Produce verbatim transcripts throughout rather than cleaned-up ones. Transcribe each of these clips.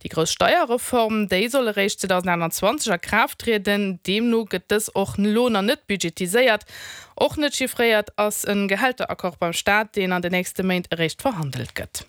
Déi grouss Steierreform, déi soll eréischt zweedausendaachtanzwanzeg a Kraaft trieden. Deemno gëtt dës och elo nach net budgetiséiert. Och net chiffréiert ass e Gehälteraccord beim Staat, deen an den nächste Méint eréischt verhandelt gëtt.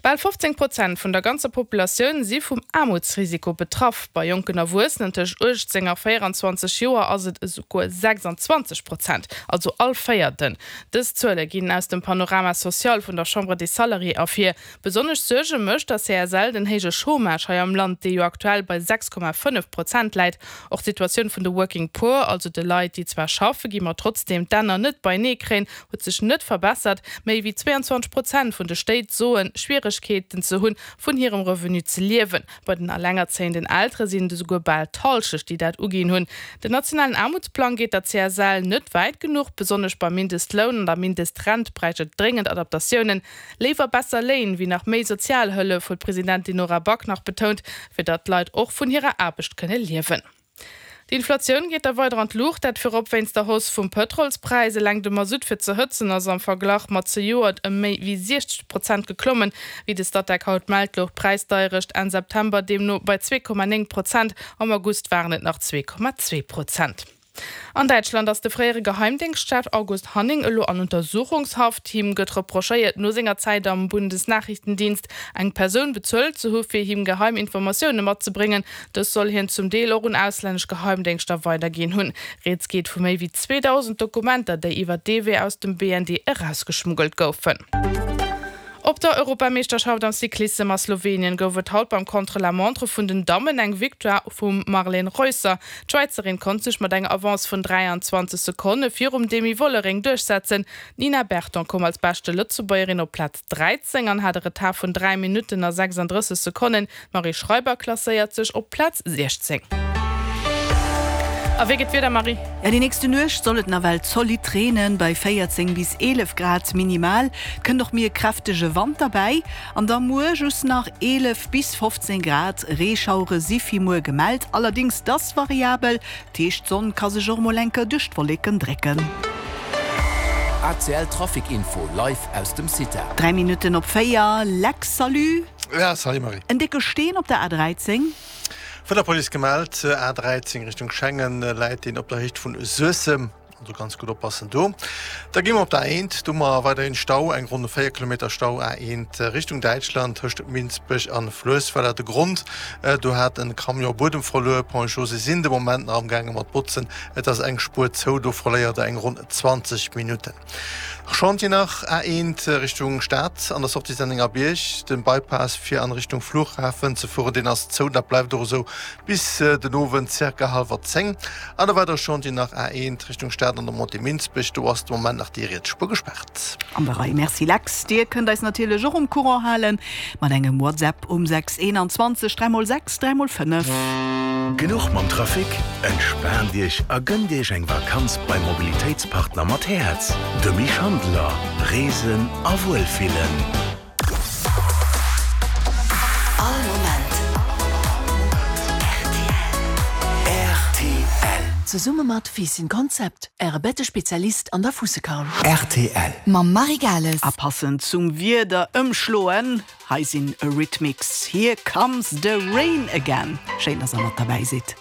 Bal fofzéng Prozent vun der ganzer Populatioun si vum Aarmutsrisiko betraff. Bei jonken Erwuessenen tëscht uechtzéng a véieranzwanzeg Joer ass et esouguer sechsanzwanzeg Prozent, also all Véierten. Dës Zuele ginn aus dem Panorama social vun der Chambre des Salariés ervir. Besonnesch Suerge mécht der C S L den héije Chômage hei am Land, dee jo aktuell bei sechs Komma fënnef Prozent läit. Och d'Situatioun vun de Working Poor, also de Leit, déi zwar schaffe gi ma trotzdeem d'Enner net beienee kréien, huet sech net verbessert. Méi wéi zweeanzwanzeg Prozent vun de Stéit soen, Schwieregkeeten ze hunn, vun hirem Revenu ze liewen. Bei den elengerzéienden Eltere sinn et esouguer bal d'Hallschecht, déi dat uginn hunn. Den nationalen Aarmutsplang geet der C S L net wäit genuch. Besonnesch beim Mindestloun an der Mindestrent bräicht et dréngend Adaptatiounen. Léiwer besser Léin wéi nach méi Sozialhëllef, huet d'Presidentin Nora Back nach betount, fir datt d'Leit och vun hirer Aarbecht kënne liewen. D'Inflatioun geet da weider an d'Luucht, dat virop wéinst der Hausse vum Pëtrolspräis. Eleng de Masutt fir ze hëtzen ass am Verglach mat zejoert ëm méi wéi siechzeg Prozent geklommen. Wéi de Statec haut mellt, louch d'Präisdeierecht Enn September deemno bei zwee Komma néng Prozent, am August waren et nach zwee Komma zwee Prozent. An Däitschland ass de fréiere Geheimdéngschtchef August Hanning elo an Untersuchungshaft. Him gëtt reprochéiert, no senger Zäit am Bundesnachrichtendienst eng Persoun bezuelt ze hu fir him geheim Informatioune matzebréngen. Dës soll hien zum Deel och un auslännesch Geheimdéngschter weiderginn hunn. Rieds geet vu méi wéi zweedausend Dokumenter, déi iwwer dee Wee aus dem B N D erausgeschmuggelt goufen. Op der Europameeschterschaft am Cyclissem a Slowenien gouf et haut beim Contre-la-montre vun den Dammen eng Victoire vum Marlene Reusser. D'Schwäizerin konnt sech mat enger Avance vun dräianzwanzeg Sekonne virum Demi Vollering duerchsetzen. D'Nina Berton koum als beschte Lëtzebuergerin op Plaz dräizéng an hat e Retard vun dräi Minutten a sechsanddrësseg Sekonnen. D'Marie Schreiber klasséiert sech op Plaz siechzéng. A wéi geet d'Wieder, Marie? Ja, déi nächste Nuecht soll et nawell zolidd reenen, bei véierzéng bis eelef Grad minimal. Et kënnt och méi e kräftege Wand derbäi. An da muer just nach eelef bis fofzéng Grad. Reeschauere si fir muer gemellt, allerdéngs dass variabel, dat heescht d'Sonn ka sech och mol enker duerch d'Wolleken drécken. A C L Trafic Info live aus dem CITA. Dräi Minutten op véier, Lex, salut! Ja, salut Marie. En décke Steen op der A dräizéng. Vun der Police gemellt, A dräizéng Richtung Schengen läit deen op der Héicht vun Suessem, also ganz gutt oppassen do. Da gi mer op der A eent, do hu mer weiderhin Stau, eng ronn véier Kilometer Stau A eent Richtung Däitschland tëscht Minsbech an Fluessweiler. De Grond, do hat en Camion Buedem verluer. Ponts et Chaussées sinn de Moment nach am gaange mat botzen, et ass eng Spuer zou, do verléiert der eng ronn zwanzeg Minutten. Chantier nach A eent Richtung Stad an der Sortie Sennengerbierg, den Bypass fir an Richtung Flughafen ze fueren, deen ass zou, dat bleift och esou bis den Owend circa hallwer zéng. An e weidere Chantier nach A eent Richtung Stad an der Montée Minsbech, do ass de Moment nach déi riets Spuer gespaart. An der Rei, Merci Lex. Dir kënnt eis natierlech och um Courant halen mat engem WhatsApp um sechs eenanzwanzeg dräi mol sechs dräi mol fënnef. Genuch mam Trafic? Entspaant Iech a gënnt Iech eng Vakanz beim Mobilitéitspartner mat Häerz, de Misch Handeler. Reesen a Wuelfillen. All Moment R T L. R T L. Zesumme mat Fiissen Konzept, Äre Bettespezialist an der Fuussekamp. R T L. Mam Marie Gales. A passend zum Wieder ëmschloen, hei sinn Eurythmics, Here Comes the Rain Again. Schéin, dass der mat derbäi sidd.